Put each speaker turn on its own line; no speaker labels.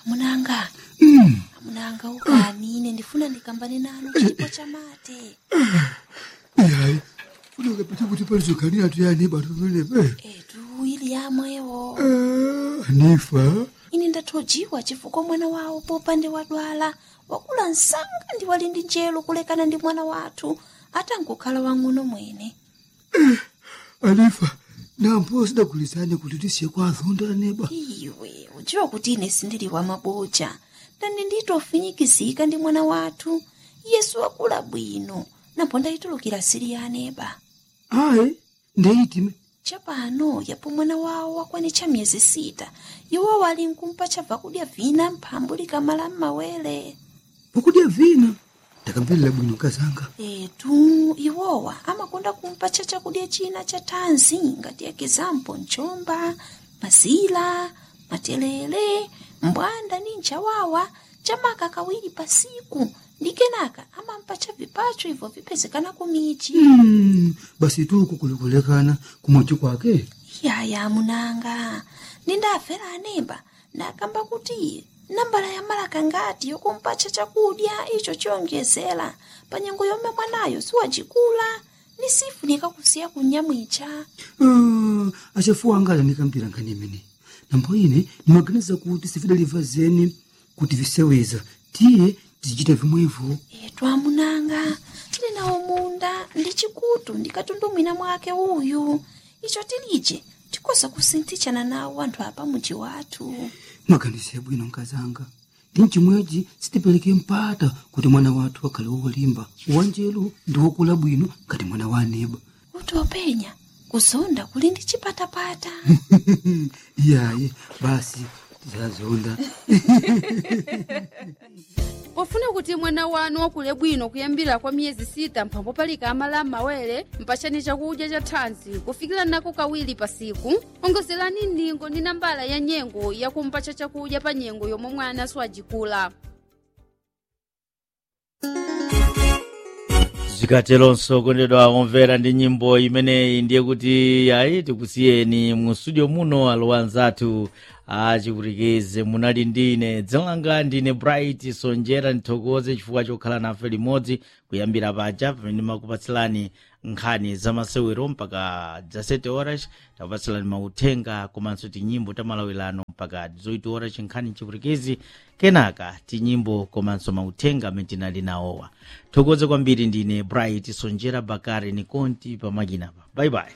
Amunanga, amunanga, ukani ine ndifuna ndikambane nanu chipo chamate.
Ihayi, funeka phethe ukuthi palizogani athu yani batumeleme.
Etu ili yamwewo.
Anifa.
Ine ndathojiwa chifukwa mwana wawo popande wadwala wakula msanga ndi wali ndi njelo kulekana ndi mwana wathu atangokhala wang'ono mwene.
Anifa, nampo sidagulizane kuti tisiye kwa azonda aneba.
Iwe udziwa kuti ine sindili wa maboja ndani nditofinyikizika ndi mwana wathu Yesu wakula bwino napo ndayitulukira sili ya aneba.
Ayi, ndeyitime.
Chapano yapo mwana wawo wakwanitcha miyezi 6, iwo wali nkumpa chabva kudya vina mphambu likamala m'mawere.
Pokudya vina ndakamvelera bwino kazanga.
Etu iwowa amakonda kumpatcha chakudya china cha thanzi ngati ekizampo mchomba, mazila, matelele, mbwanda ni nchawawa chamaka kawiri pasiku ndi kenaka amampatcha vipacho ibvo vipezekana kumichi.
Basi tuku kulikulekana kumochi kwake.
Yaya munanga, nindafera anemba ndakamba kuti nambala ya malaka ngati yokumpatcha chakudya icho chiyonjezera pa nyengo yomwe mwanayo siwacikula ni sifunika kusiya kunyamwicha.
Ah, achafuwa anga anikambira nkhani imene nambo ine nimaganiza kuti sifidaliva zeni kuti viseweza tiye tizichita vimwevo.
Etu amunanga, tili nawo munda ndi chikutu ndikatundumwina mwake uyu icho tilije tikoza kusinthitshana nawo anthu apa muji wathu.
Mwaganize bwino nkazanga, ndi mchimwechi sitipereke mpata kuti mwana wathu akhale wolimba wanjelu ndi wokula bwino ngati mwana wa aneba.
Kuti openya kuzonda kuli ndi chipatapata.
Iyayi, basi tizazonda.
Pofuna kuti mwana wanu wakule bwino kuyambira kwa miyezi 6 mphambo palika amala m'mawere, mpatseni chakudya cha thanzi kufikira nako kawiri pasiku, ongozerani ndingo ndi nambala ya nyengo yakumpatsa chakudya pa nyengo yomwe mwana siwajikula.
Zikatelonso kondedwa omvera, ndi nyimbo imeneyi ndiye kuti ayi, tikusiyeni mu studio muno alowa anzathu achipwitikize. Munali ndine, dzina langa ndine Bright Sonjera. Ndithokoze chifukwa chokhala nafe limodzi kuyambira paja pamene makupatsirani nkhani zamasewero mpaka 17 horas, takupatsilani mauthenga komanso tinyimbo tamalawirano mpaka 18 horas, nkhani chipwitikizi, kenaka tinyimbo komanso mauthenga amene tinali nawowa. Thokoze kwambiri, ndine Bright Sonjera. Bakari ni konti pamakinapa. Bye bye.